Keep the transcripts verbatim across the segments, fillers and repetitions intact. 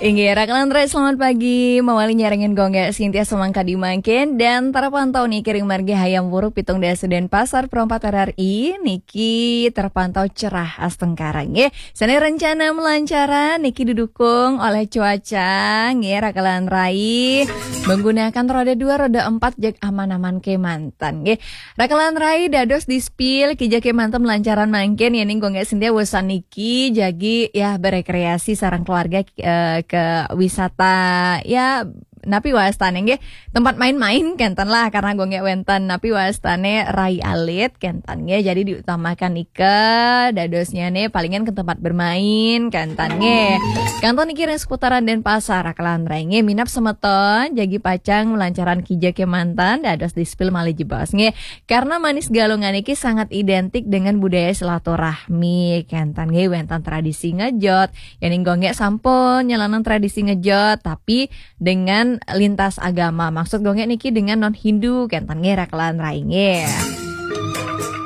Inggih, Raka lan Rai, selamat pagi. Mawali nyarengin Gung Gek Sintia samangkadi mangkin dan terpantau niki ring margi Hayam Wuruk pitung dasa Denpasar, Pro empat R R I, niki terpantau cerah astungkara nggih. Sane rencana melancaran niki didukung oleh cuaca nggih, Raka lan Rai. Menggunakan roda dua, roda empat, jeg aman-aman kemanten nggih. Raka lan Rai, dados dispil kija kemanten melancaran mangkin, yening Gung Gek Sintia wusan niki jagi ya berekreasi sareng keluarga eh, ke wisata ya napi wastane nggih, tempat main-main kenten lah, karena Gung Gek wenten napi wastane rai alit kenten nggih, jadi diutamakan nika dadosnyane palingan ke tempat bermain kenten nggih. Kantun niki ring seputaran Denpasar, Raka lan Rai nggih, minab semeton jagi pacang melancaran kija kemanten dados dispil malih jebos nggih. Karena Manis Galungan niki sangat identik dengan budaya silaturahmi kenten nggih, wenten tradisi ngejot. Yening Gung Gek sampun nyalanan tradisi ngejot, tapi dengan lintas agama. Maksud Gung Gek niki dengan non Hindu kenten nggih, Raka lan Rai nggih.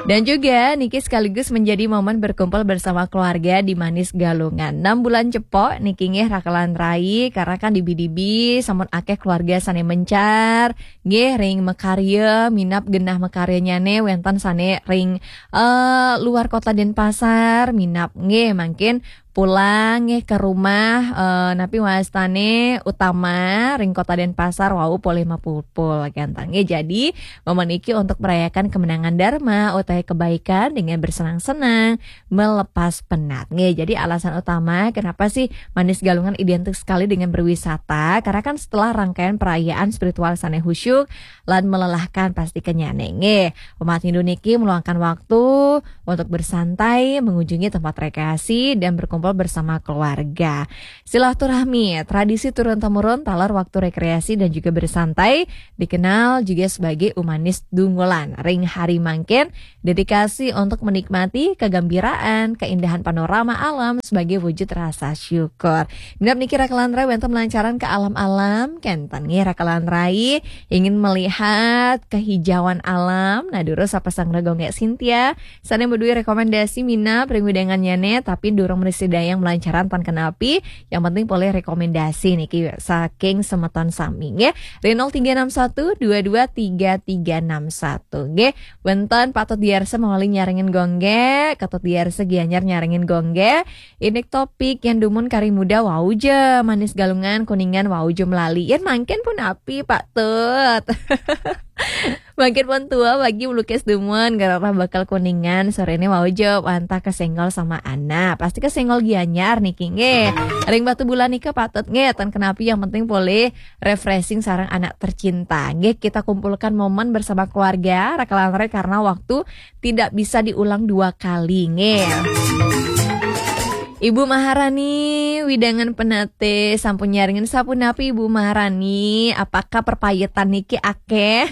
Dan juga niki sekaligus menjadi momen berkumpul bersama keluarga di Manis Galungan. Enam bulan cepok niki nggih, Raka lan Rai, karena kan dibi-dibi sampun akeh keluarga sane mencar nggih ring makarya, minab genah makaryanyane wenten sane ring eh, luar kota Denpasar, minab nggih mangkin pulang nggih ke rumah, eh, napi wastane utama ring kota Denpasar wau polih mapupul kenten nggih. Jadi momen iki untuk merayakan kemenangan Dharma utawi kebaikan dengan bersenang-senang, melepas penat nggih. Jadi alasan utama kenapa sih Manis Galungan identik sekali dengan berwisata, karena kan setelah rangkaian perayaan spiritual sane khusyuk lan melelahkan pasti kenyane nggih. Umat Hindu niki meluangkan waktu untuk bersantai, mengunjungi tempat rekreasi, dan berkumpul bersama keluarga. Silaturahmi, tradisi turun-temurun taler waktu rekreasi dan juga bersantai, dikenal juga sebagai Umanis Dungulan. Ring hari mangkin, dedikasi untuk menikmati kegembiraan, keindahan panorama alam sebagai wujud rasa syukur. Minab niki Raka lan Rai wenten melancaran ke alam-alam, kenten nggih, Raka lan Rai ingin melihat kehijauan alam. Nah, durus sapa sang Gung Gek Sintia sane maduwe rekomendasi minab ring wedangannyane, tapi durung mrsidayang melancaran tan kenapi, yang penting polih rekomendasi niki saking semeton sami nggih. Ring nol tiga enam satu dua dua tiga tiga enam satu nggih. Wenten patut diarsa mawali nyarengin Gung Gek, katut diarsa Gianyar nyarengin Gung Gek. Indik topik yang dumun kari muda wau ja, Manis Galungan, Kuningan wau ja melali. Yen mangkin punapi, Pak Tut? Mangkin pun tua bagi melukis dumun, gerarah bakal Kuningan, sorene wau ja wantah kesenggol sama anak. Pasti kesenggol Gianyar niki nggih. Ring Batubulan nika patut nggih, tan kenapi yang penting polih refreshing sareng anak tercinta. Nggih, kita kumpulkan momen bersama keluarga, Raka lan Rai, karena waktu tidak bisa diulang dua kali nggih. Ibu Maharani, wedangan Penate, sampun nyarengin sapunapi Ibu Maharani? Apakah pepayetan niki akeh?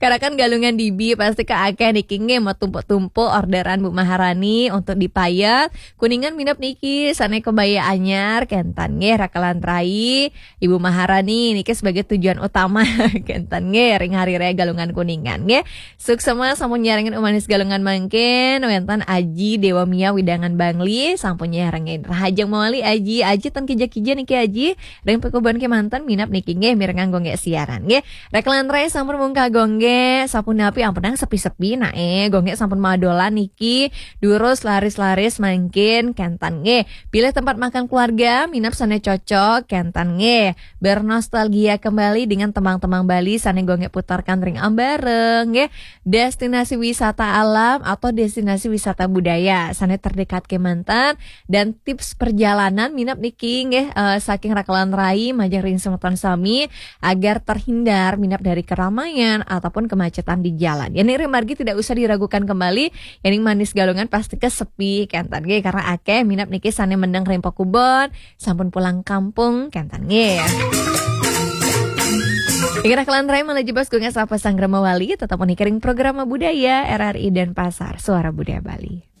Karena kan Galungan dibi pasti ke akeh niki nggih, mau tumpuk-tumpuk orderan Bu Maharani untuk dipayet. Kuningan minab niki sane kebaya anyar kenten nggih, Raka lan Rai. Ibu Maharani niki sebagai tujuan utama kenten nggih ring Hari Raya Galungan Kuningan nggih. Suksema sampun nyarengin Umanis Galungan mangkin, wenten Aji Dewa Mia wedangan Bangli sampun nyarengin. Rahajeng mawali Aji, Aji ten kija-kija niki Aji, ring pakubunan kemanten minab niki nggih mirengang Gung Gek siaran nggih. Raka lan Rai sampun mungkah Gung Gek, sapunapi ampunang sepi-sepi nae, Gung Gek sampun madolan niki, durus laris-laris mangkin kenten nggih. Pilih tempat makan keluarga, minab sane cocok kenten nggih. Bernostalgia kembali dengan tembang-tembang Bali sane Gung Gek putarkan ring ambara nggih. Destinasi wisata alam atau destinasi wisata budaya sane terdekat kemanten, dan tips perjalanan minab niki nggih, eh, saking Raka lan Rai majeng ring semeton sami agar terhindar minab dari keramaian ataupun kemacetan di jalan. Yening ring margi tidak usah diragukan kembali, yening Manis Galungan pasti ke sepi kenten nggih, karena akeh minab niki sane mendeng ring pakubunan, sampun pulang kampung kenten nggih. Inggih, Raka lan Rai, malih jebos Gung Gek sapa sang Rama Wali, tetap mengikuti program budaya R R I Denpasar, Suara Budaya Bali.